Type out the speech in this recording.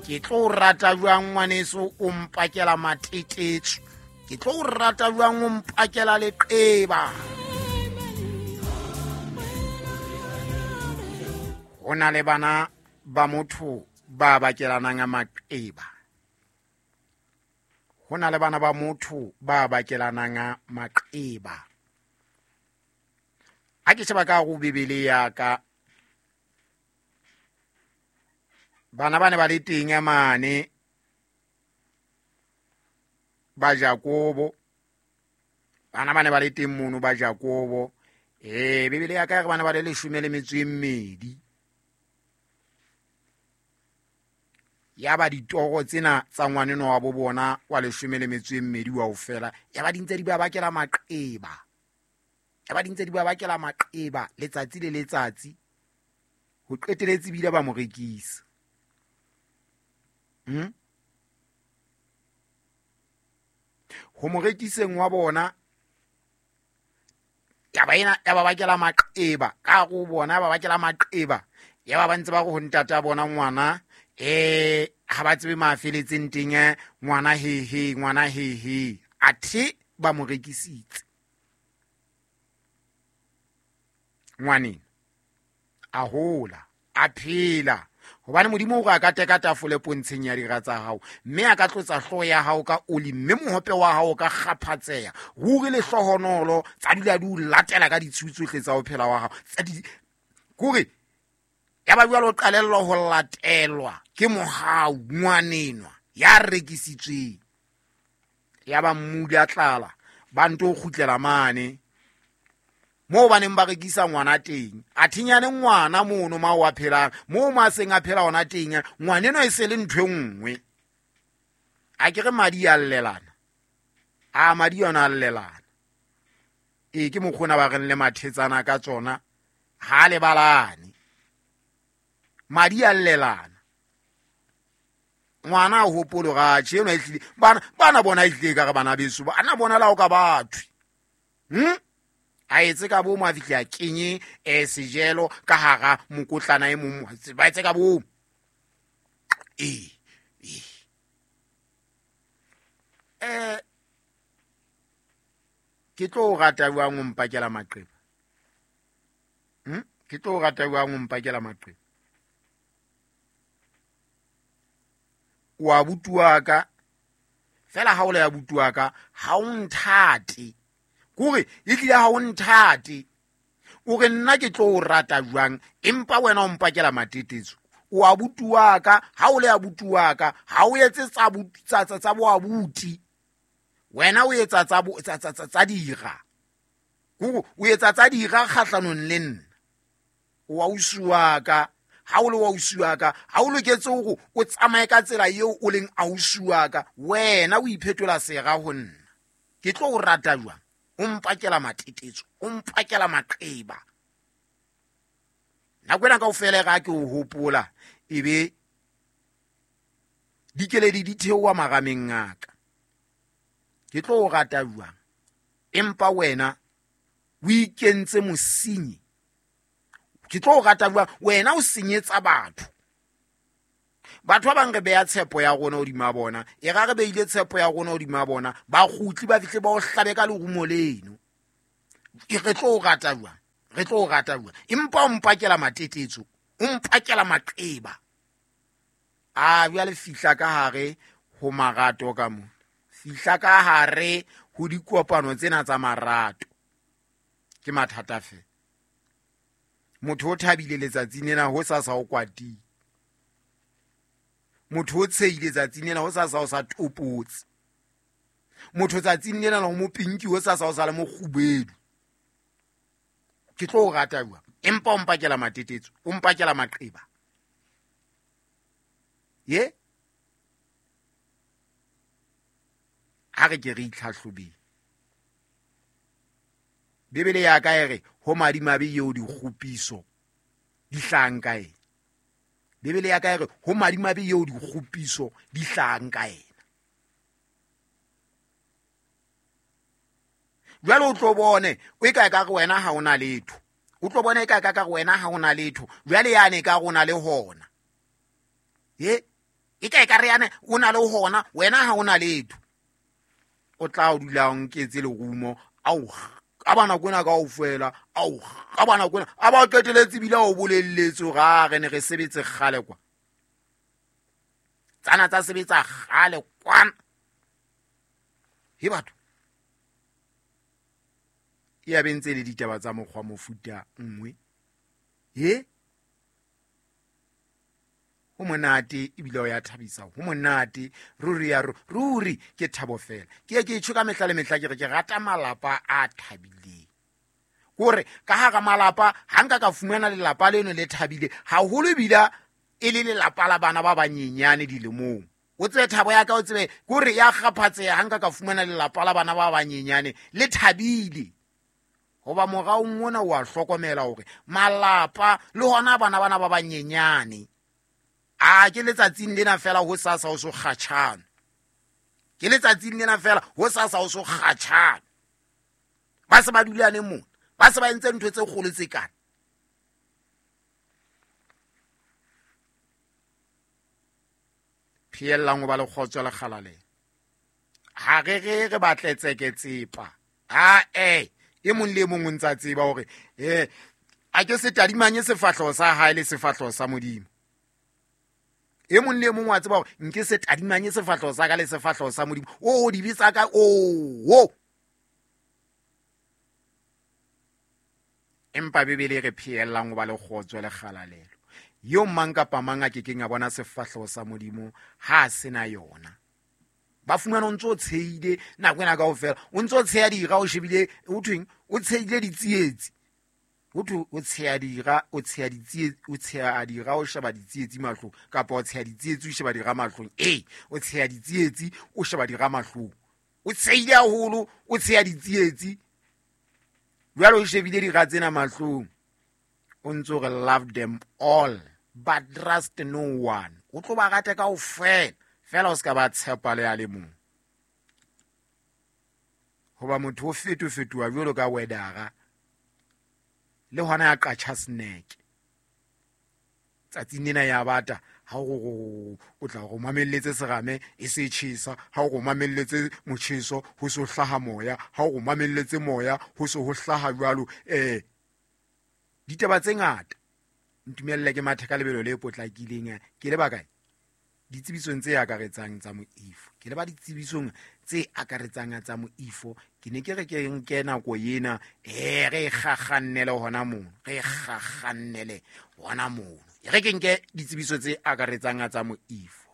Ke tlo o rata jwang ngwaneso o mpakela matetetso? Ke tlo o rata jwang o mpakela leqeba? Ho na le bana ba motho ba bakelanang a maqeba. Ho na le bana ba motho ba bakelanang a maqeba. Ha ke sheba ka go Bibele ya ka, bana ba ne ba le teng mane ba Jakobo, bana ba ne ba le teng mono ba Jakobo. Bibele ya ka e re bana ba le leshome le metso e mmedi. Ya ba ditoro tsena tsa ngwaneno wa bo bona wa leshome le metso e mmedi wa ho fela, ya ba di ntse di ba bakela maqeba. Ya ba di ntse di ba bakela maqeba letsatsi le letsatsi. Ho qeteletse bile ba mo rekisa. Ho mo rekiseng wa bona, taba ena ya ba bakela maqeba ka hare ho bona, ya ba bakela maqeba. Ya ba ba ntse ba re ho ntata bona ngwana, ha ba tsebe ma feletseng teng, ngwana he he, ngwana he he. Athe ba mo rekisitse. Ngwaneng a hola, a phela. Hobane Modimo o re a ka teka tafole pontsheng ya dira tsa hao, mme a ka tlotsa hlooho ya hao ka oli, mme mohope wa hao o ka kgaphatseha. Ruri lehlohonolo tsa dula di o latela ka ditshiu tsohle tsa ho phela wa hao. Tsa di, kore ya ba jwalo o qalellwa ho latelwa ke mohau ngwanenwa ya rekisitsweng. Ya ba mmudi a tlala, ba nto kgutlela mane moo ba neng ba rekisa ngwana teng. A thinyane ngwana mono ma o a phelang, moo ma seng a phela hona teng, ngwaneno e se le ntho e nngwe. A ke re madi a llelana. A madi yona a llelana. Ee, ke mokgona ba reng le mathetsana ka tsona, ha lebalane. Madi a llelana. Ngwana a hopolo ga tjhe, enwa e tlile. Bana, bana bona e tlile ka re bana beso, bana bona la o ka bathwe. A etse ka bomo, a fihle a kenye, sejelo ka hara mokotlana e mong, ba etse ka bomo. Ee, ee. Ke tlo o rata jwang o mpakela maqeba? Ke tlo o rata jwang o mpakela maqeba? O abuti wa ka, fela ha o le abuti wa ka, ha o nthate. Kore e tlile ha o nthate. O re nna ke tlo o rata jwang, empa wena o mpakela matetetso. O abuti wa ka, ha o le abuti wa ka, ha o etse tsa boabuti. Wena o etsa tsa dira. Kore o etsa tsa dira kgahlanong le nna. O ausi wa ka, ha o le wa ausi wa ka, ha o loketse hore o tsamaye ka tsela eo o leng ausi wa ka, wena o iphetola sera ho nna. Ke tlo o rata jwang? O mpakela matetetso, o mpakela maqeba. Nako ena kaofela e re ha ke o hopola, ebe dikeledi di theoha marameng a ka. Ke tlo o rata jwang? Empa wena o ikentse mosenyi. Ke tlo o rata jwang? Wena o senyetsa batho. Batho ba bang re beha tshepo ya rona hodima bona. E ra re beile tshepo ya rona hodima bona, ba kgutli ba fihle ba o hlabe ka lerumo leno. E re tlo o rata jwang? Re tlo o rata jwang? Empa o mpakela matetetso, o mpakela maqeba. A jwale fihla ka hare ho marato ka mona. Fihla ka hare ho dikopano tsena tsa marato. Ke mathata feela. Motho o thabile letsatsing lena ho sa sa o kwatile. Motho o tshehile tsatsing lena ho sa sa o sa topotse. Motho tsatsing lena o mo pinki ho sa sa o sa le mokgubedu. Ke tlo o rata jwang? Empa o mpakela matetetso, o mpakela maqeba. Ye? Ha re ke re itlhahlobeng. Bibele ya ka e re ho madimabe eo dikgopiso di hlahang ka ena. Bibele ya ka e re ho madimabe eo dikgopiso di hlahang ka ena. Jwale o tlo bone o e ka ka re wena ha ona letho. O tlo bone e ka ka re wena ha ona letho. Jwale yane ka rona le hona. Ye? E ka e ka re yane o na le hona, wena ha o na letho. O tla o dula o nketse lerumo, ao ka bana kwena kaofela, ao ka bana kwena, a ba qeteletse ebile o bolelletse hore a re ne re sebetse kgale kwa. Tsana tsa sebetsa kgale kwana. He batho. E ya bentse le ditaba tsa mokgwa mofuta nngwe. He? Ho monate ebile o ya thabisa, ho monate ruri ya ruri ke thabo fela. Ke ye ke tjho ka mehla le mehla ke re ke rata malapa a thabileng. Kore ka hara malapa ha nka ka fumana lelapa leno le thabile haholo ebile e le lelapa la bana ba banyenyane dilemong. O tsebe thabo ya ka, o tsebe kore ya kgaphatseha ha nka ka fumana lelapa la bana ba banyenyane le thabile. Hoba moraong mona o a hlokomela hore malapa le hona bana bana ba banyenyane a ke letsatsing lena fela ho sasa ho so kgatjhana. Ke letsatsing lena fela ho sasa ho so kgatjhana. Ba se ba dulane mona, ba se ba entse ntho tse kgolo tse kana. Pheellang ho ba le kgotso le kgalalelo. Ha re re re batle tseketsepa. Ha e mong le e mong o ntsa tseba hore a ke se tadimanye sefahleho sa hae le sefahleho sa Modimo. E mong le e mong wa tseba hore nke se tadimanye sefahleho sa ka le sefahleho sa Modimo. O dibe tsa ka, o. Empa Bibele e re pheellang ho ba le kgotso le kgalalelo. Eo mang kapa mang a kekeng a bona sefahleho sa Modimo ha a sena yona. Ba fumana o ntso o tshehile nako ena kaofela, o ntso o tsheha dira, o shebile, ho thweng, o tshehile ditsietsi. Ho thwe o tsheha dira, o tsheha ditsietsi, o tsheha dira, o sheba ditsietsi mahlong, kapa o tsheha ditsietsi, o sheba dira mahlong. Ee, o tsheha ditsietsi, o sheba dira mahlong. O tshehile haholo, o tsheha ditsietsi. Jwale o shebile dira tsena mahlong. O ntso re love them all, but trust no one. O tlo ba rate kaofela, fela o ska ba tshepa le a le mong. Hoba motho o fetofetoha jwalo ka wedara, le hona ya qatjha snack. Tsatsing lena ya bata, ha o o tla go mamelletse serame e se tjhesa, ha o go mamelletse motjheso ho so hlaha moya, ha o go mamelletse moya ho so ho hlaha jwalo. Ditaba tse ngata. Ntumelle ke mathe ka lebelo le potlakileng. Ke le bakae? Ditsebisong tse akaretsang tsa moifo. Ke le ba ditsebisong tse akaretsang tsa moifo. Ke ne ke re ke nke nako ena, re kgakgannele hona mono, re kgakgannele hona mono. E re ke nke ditsebiso tse akaretsang tsa moifo.